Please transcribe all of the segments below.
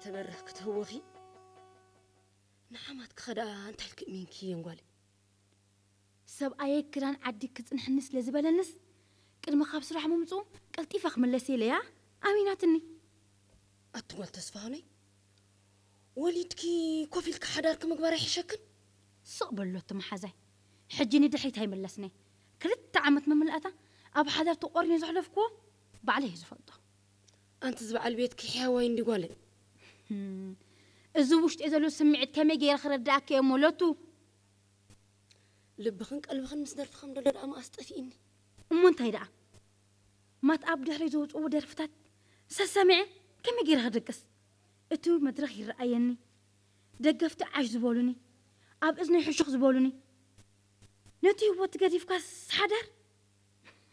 ተበርህ ክትህወኺ ንሓማት ክኸዳ እንታይ ኢልክ እሚንኪ የንጓል? ሰብኣየ ክዳን ዓዲ ክጽንሕኒ ስለ ዝበለንስ ቅድሚ ካብ ስራሕ ምምጽኡ ቀልጢፈ ክምለስ ኢለያ ኣሚናትኒ። ኣቲ ጓል ተስፋሁነይ፣ ወሊድኪ ኮፍ ኢልካ ሓዳርኪ ምግባር ኣይሕሸክን? ስቕ በሎ እቲ መሓዛይ። ሕጂ ንድሕሪት ኣይምለስነ። ክልተ ዓመት መምልኣታ ኣብ ሓዳር ተቖሪነ ዘሕለፍክዎ ባዕለይ እየ ዝፈልጦ። ኣንቲ ዝበዓል ቤትኪ ሕያዋይ እንዲ ጓለይ። ህም፣ እዚ ውሽጢ ዘሎ ስምዒት ከመይ ገይረ ክረዳእኪ እየ እሞ ሎቱ? ልብኽን ቀልብኽን ምስ ደርፊ ከም ደሎ ደኣ መኣስ ጠፊእኒ። እሞ እንታይ ደኣ? ማት ኣብ ድሕሪ ዘውፅዎ ደርፍታት ሰሰሚዐ ከመይ ገይረ ክደቅስ? እቲ መድረኽ ይረኣየኒ። ደገፍቲ ዓሽ ዝበሉኒ፣ ኣብ እዝነይ ሕሹኽ ዝበሉኒ። ነቲ ህይወት ገዲፍካስ ሓዳር?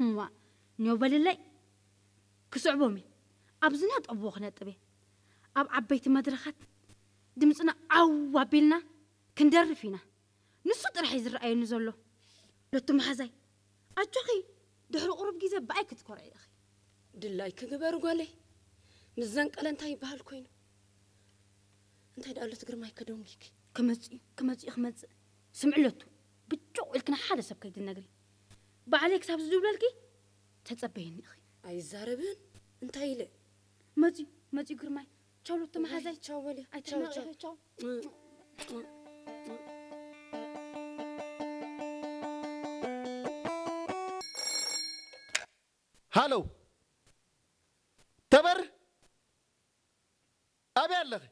እዋ፣ ኒዮ በልለይ። ክስዕቦም እየ። ኣብ ዝነጠብዎ ክነጥብ እየ። ኣብ ዓበይቲ መድረኻት ድምፅና ዓው ኣቢልና ክንደርፍ ኢና። ንሱ ጥራሕ እዩ ዝረኣየኒ ዘሎ። ሎቱ መሓዛይ፣ ኣጆኺ፣ ድሕሪ ቁሩብ ግዜ ብኣይ ክትኮርዒ ኢኺ። ድላይኪ ግበሪ ጓለይ። ምስ ዘንቀለ እንታይ ይበሃል ኮይኑ? እንታይ ደኣ ሎቱ ግርማይ ከደንጉይኪ? ክመጽእ እዩ፣ ክመጽእ እዩ፣ ክመጽእ። ስምዒ ሎቱ፣ ብጭቕ ኢልኪ ንሓደ ሰብ ከይትነግሪ። ባዕለይ ክሳብ ዝድውለልኪ ተጸበይኒ ኢኺ። ኣይዛረብን፣ እንታይ ኢለ? መጽዩ፣ መጽዩ ግርማይ። ቻው ሎቱ መሓዛይ። ቻው በልዮ። ቻው፣ ኣይትናወቂ፣ ቻው። ቻው። ሃሎ፣ ተበር፣ ኣበይ ኣለኺ?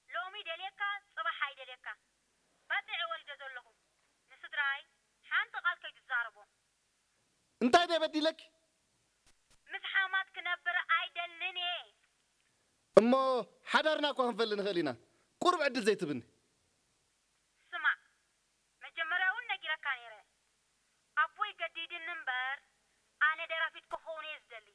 ሎሚ ደልየካ፣ ጽባሕ ኣይደልየካ። ባጽዕ ወሊደ ዘለኹ። ንስድራይ ሓንቲ ቃል ከይትዛረቦ። እንታይ ደይ በዲለኪ? ምስ ሓማት ክነብር ኣይደልን እየ። እሞ ሓዳርና እኳ ክንፈሊ ንኽእል ኢና። ቁሩብ ዕድል ዘይትብኒ? ስማዕ፣ መጀመርያ እውን ነጊረካ ነይረ። ኣቦይ ገዲድኒ እምበር፣ ኣነ ደራፊት ክኸውን እየ ዝደሊ።